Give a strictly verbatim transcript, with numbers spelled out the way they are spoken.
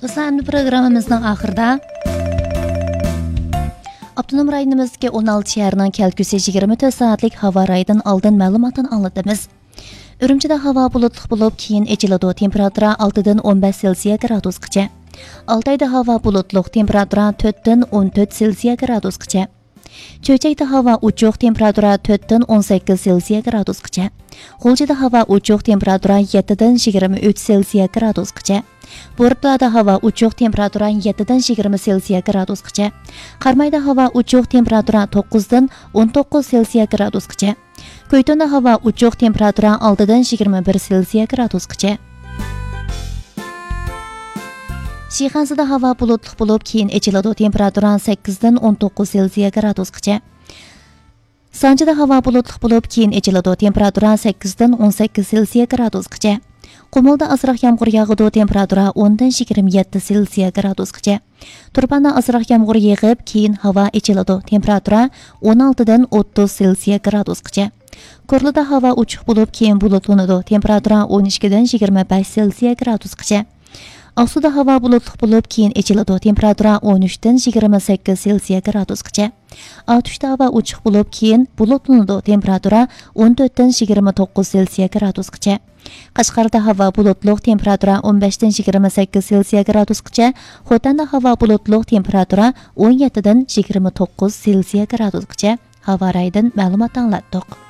دوستلار، ئەمدى پروگراممىمىزنىڭ ئاخىرىدا ئاپتونوم رايونىمىزدىكى ئون ئالتە شەھەرنىڭ كەلگۈسى يىگىرمە تۆت سائەتلىك ھاۋا رايىدىن ئالدىن مەلۇماتىنى ئاڭلىتىمىز. ئۈرۈمچىدە ھاۋا بۇلۇتلۇق بولۇپ، كېيىن ئېچىلىدۇ، تېمپېراتۇرا ئالتىدىن ئون بەش سېلسىيە گرادۇسقىچە. ئالتايدا ھاۋا بۇلۇتلۇق، تېمپېراتۇرا تۆتتىن ئون تۆت سېلسىيە گرادۇسقىچە. چۆچەكتە ھاۋا ئوچۇق، تېمپېراتۇرا تۆتتىن ئون سەككىز سېلسىيە گرادۇسقىچە. غۇلجىدا ھاۋا ئوچۇق، تېمپېراتۇرا يەتتىدىن يىگىرمە ئۈچ سېلسىيە گرادۇسقىچە. بورتالادا ھاۋا ئوچۇق، تېمپېراتۇرا يەتتىدىن يىگىرمە سېلسىيە گرادۇسقىچە. قارامايدا ھاۋا ئوچۇق، تېمپېراتۇرا توققۇزدىن ئون توققۇز سېلسىيە گرادۇسقىچە. كۆيتوندا ھاۋا ئوچۇق، تېمپېراتۇرا ئالتىدىن يىگىرمە بىر سېلسىيە گرادۇسقىچە. شىخەنزىدە ھاۋا بۇلۇتلۇق بولۇپ، كېيىن ئېچىلىدۇ، تېمپېراتۇرا سەككىزدىن ئون توققۇز سېلسىيە گرادۇسقىچە. سانجىدا ھاۋا بۇلۇتلۇق بولۇپ، كېيىن ئېچىلىدۇ، تېمپېراتۇرا سەككىزدىن ئون سەككىز سېلسىيە گرادۇسقىچە. قۇمۇلدا ئازراق يامغۇر ياغىدۇ، تېمپېراتۇرا ئوندىن يىگىرمە يەتتە سېلسىيە گرادۇسقىچە. تۇرپاندا ئازراق يامغۇر يېغىپ، كېيىن ھاۋا ئېچىلىدۇ، تېمپېراتۇرا ئون ئالتىدىن ئوتتۇز سېلسىيە گرادۇسقىچە. كورلىدا ھاۋا ئوچۇق بولۇپ، كېيىن بۇلۇتلىنىدۇ، تېمپېراتۇرا ئون ئىككىدىن يىگىرمە بەش سېلسىيە گرادۇسقىچە. ئاقسۇدا ھاۋا بۇلۇتلۇق بولۇپ، كېيىن ئېچىلىدۇ، تېمپېراتۇرا ئون ئۈچتىن يىگىرمە سەككىز سېلسىيە گرادۇسقىچە. ئاتۇشتا ھاۋا ئوچۇق بولۇپ، كېيىن بۇلۇتلىنىدۇ، تېمپېراتۇرا ئون تۆتتىن يىگىرمە توققۇز سېلسىيە گرادۇسقىچە. قەشقەردە ھاۋا بۇلۇتلۇق، تېمپېراتۇرا ئون بەشتىن يىگىرمە سەككىز سېلسىيە گرادۇسقىچە. خوتەندە ھاۋا بۇلۇتلۇق، تېمپېراتۇرا ئون يەتتىدىن يىگىرمە توققۇز سېلسىيە گرادۇسقىچە. ھاۋا رايىدىن مەلۇمات ئاڭلاتتۇق.